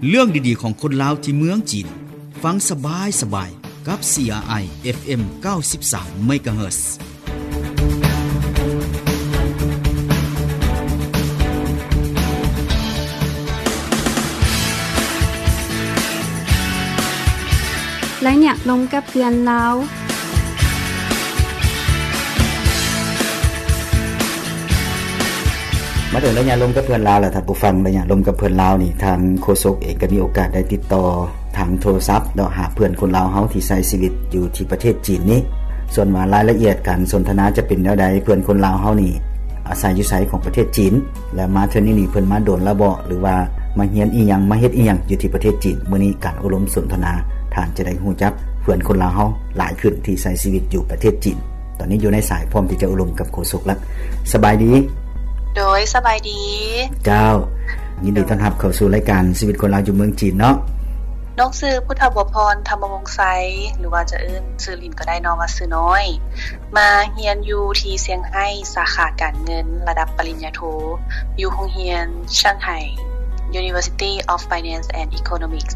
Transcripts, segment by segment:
ເລື່ອງດີໆຂອງຄົນລາວທີ່ເມືອງຈີນ. ຟັງສະບາຍໆກັບ ຊີອາໄອ ເອັຟເອັມ ເກົ້າສິບສາມ ເມກາເຮີດ. ໄລຍະລົມກັບເພື່ອນລາວ. ມາເຖິງໄລຍະລົມກັບເພື່ອນລາວແລ້ວ ທ່ານຜູ້ຟັງ, ໄລຍະລົມກັບເພື່ອນລາວນີ້ ທາງໂຄສົກເອງກໍມີໂອກາດໄດ້ຕິດຕໍ່ທາງໂທລະສັບເນາະ ຫາເພື່ອນຄົນລາວເຮົາທີ່ໃຊ້ຊີວິດຢູ່ທີ່ປະເທດຈີນນີ້. ສ່ວນວ່າລາຍລະອຽດການສົນທະນາຈະເປັນແນວໃດ, ເພື່ອນຄົນລາວເຮົານີ້ອາໄສຢູ່ໃສຂອງປະເທດຈີນ ແລະ ມາເທື່ອນີ້ນີ້ເພິ່ນມາດົນແລ້ວບໍ ຫຼືວ່າມາຮຽນອີ່ຫຍັງ ມາເຮັດອີ່ຫຍັງຢູ່ທີ່ປະເທດຈີນ? ມື້ນີ້ການໂອ້ລົມສົນທະນາ ທ່ານຈະໄດ້ຮູ້ຈັກເພື່ອນຄົນລາວເຮົາຫຼາຍຂຶ້ນທີ່ໃຊ້ຊີວິດຢູ່ປະເທດຈີນ. ຕອນນີ້ຢູ່ໃນສາຍ ພ້ອມທີ່ຈະໂອ້ລົມກັບໂຄສົກລະ. ສະບາຍດີ. ໂດຍ ສະບາຍດີ. ເຈົ້າ, ຍິນດີຕ້ອນຮັບເຂົ້າສູ່ລາຍການຊີວິດຄົນລາວຢູ່ເມືອງຈີນເນາະ. ນ້ອງຊື່ພຸດທະບົວພອນ ທຳມະວົງໄຊ ຫຼືວ່າຈະເອີ້ນຊື່ຫຼິ້ນກໍໄດ້ເນາະ ວ່າຊື່ນ້ອຍ. ມາຮຽນຢູ່ທີ່ຊຽງໄຮ້ ສາຂາການເງິນ ລະດັບປະລິນຍາໂທ ຢູ່ໂຮງຮຽນ Shanghai University of Finance and Economics.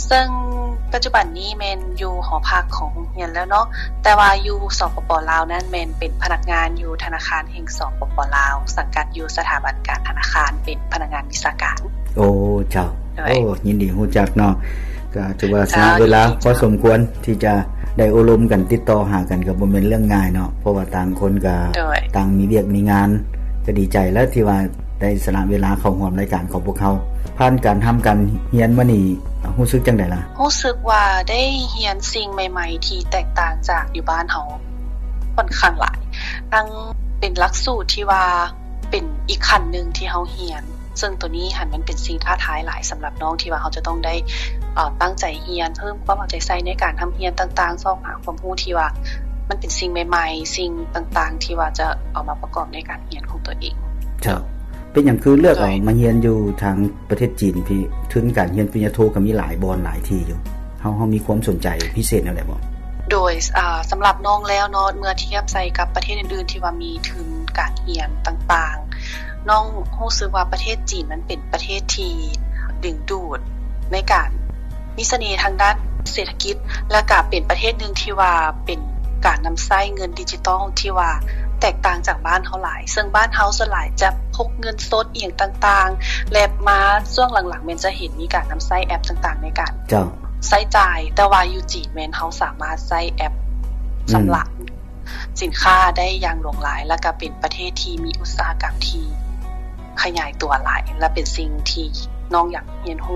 ເຊິ່ງປັດຈຸບັນນີ້ແມ່ນຢູ່ຫໍພັກຂອງໂຮງຮຽນແລ້ວເນາະ, ແຕ່ວ່າຢູ່ ສປປ ລາວນັ້ນ ແມ່ນເປັນພະນັກງານຢູ່ທະນາຄານແຫ່ງ ສປປ ລາວ, ສັງກັດຢູ່ສະຖາບັນການທະນາຄານ ເປັນພະນັກງານວິຊາການ. ໂອ້ ເຈົ້າ. ໂດຍ. ໂອ້ ຍິນດີຮູ້ຈັກເນາະ. ກໍຖືວ່າສະຫຼະເວລາ ເຈົ້າ ຍິນດີ ພໍສົມຄວນທີ່ຈະໄດ້ໂອ້ລົມກັນ ຕິດຕໍ່ຫາກັນ ກໍບໍ່ແມ່ນເລື່ອງງ່າຍເນາະ, ເພາະວ່າຕ່າງຄົນກໍ ໂດຍ ຕ່າງມີວຽກມີງານ. ກໍດີໃຈແລ້ວທີ່ວ່າ ໄດ້ສະຫຼະເວລາເຂົ້າຮ່ວມລາຍການຂອງພວກເຮົາ. ຜ່ານການຮ່ຳການຮຽນມານີ້ ຮູ້ສຶກຈັ່ງໃດລະ? ຮູ້ສຶກວ່າໄດ້ຮຽນສິ່ງໃໝ່ໆທີ່ແຕກຕ່າງຈາກຢູ່ບ້ານເຮົາຂ້ອນຂ້າງຫຼາຍ, ທັງເປັນຫຼັກສູດທີ່ວ່າເປັນອີກຂັ້ນໜຶ່ງທີ່ເຮົາຮຽນ, ເຊິ່ງໂຕນີ້ຫັ້ນມັນເປັນສິ່ງທ້າທາຍຫຼາຍສຳລັບນ້ອງ ທີ່ວ່າເຮົາຈະຕ້ອງໄດ້ ເອີ ຕັ້ງໃຈຮຽນ, ເພີ່ມຄວາມເອົາໃຈໃສ່ໃນການຮ່ຳຮຽນຕ່າງໆ, ຊອກຫາຄວາມຮູ້ທີ່ວ່າມັນເປັນສິ່ງໃໝ່ໆ, ສິ່ງຕ່າງໆທີ່ວ່າຈະເອົາມາປະກອບໃນການ ຮຽນຂອງຕົວເອງ. ເຈົ້າ. ເປັນຫຍັງຄືເລືອກເອົາ ໂດຍ ມາຮຽນຢູ່ທາງປະເທດຈີນພີ້? ທຶນການຮຽນປະລິນຍາໂທກໍມີຫຼາຍບ່ອນຫຼາຍທີ່ຢູ່. ເຮົາ ເຮົາມີຄວາມສົນໃຈພິເສດແນວໃດບໍ່? ໂດຍ ອາ ສຳລັບນ້ອງແລ້ວເນາະ, ເມື່ອທຽບໃສ່ກັບປະເທດອື່ນໆທີ່ວ່າມີທຶນການຮຽນຕ່າງໆ, ນ້ອງຮູ້ສຶກວ່າປະເທດຈີນມັນເປັນປະເທດທີ່ດຶງດູດໃນການ ມີສະເໜ່ທາງດ້ານເສດຖະກິດ ແລະ ກະເປັນປະເທດໜຶ່ງທີ່ວ່າເປັນການນຳໃຊ້ເງິນດິຈິຕອນທີ່ວ່າແຕກຕ່າງຈາກບ້ານເຮົາຫຼາຍ, ເຊິ່ງບ້ານເຮົາສ່ວນຫຼາຍຈະພົກເງິນສົດອີ່ຫຍັງຕ່າງໆ ແລະ ມາຊ່ວງຫຼັງໆແມ່ນຈະເຫັນມີການນຳໃຊ້ແອັບຕ່າງໆໃນການ ເຈົ້າ ໃຊ້ຈ່າຍ, ແຕ່ວ່າຢູ່ຈີນແມ່ນເຮົາສາມາດໃຊ້ແອັບ ອືມ ຊຳລະສິນຄ້າໄດ້ຢ່າງຫຼວງຫຼາຍ, ແລະ ກະເປັນປະເທດທີ່ມີອຸດສາຫະກຳທີ່ຂະຫຍາຍຕົວຫຼາຍ ແລະ ເປັນສິ່ງທີ່ນ້ອງຢາກຮຽນຮູ້.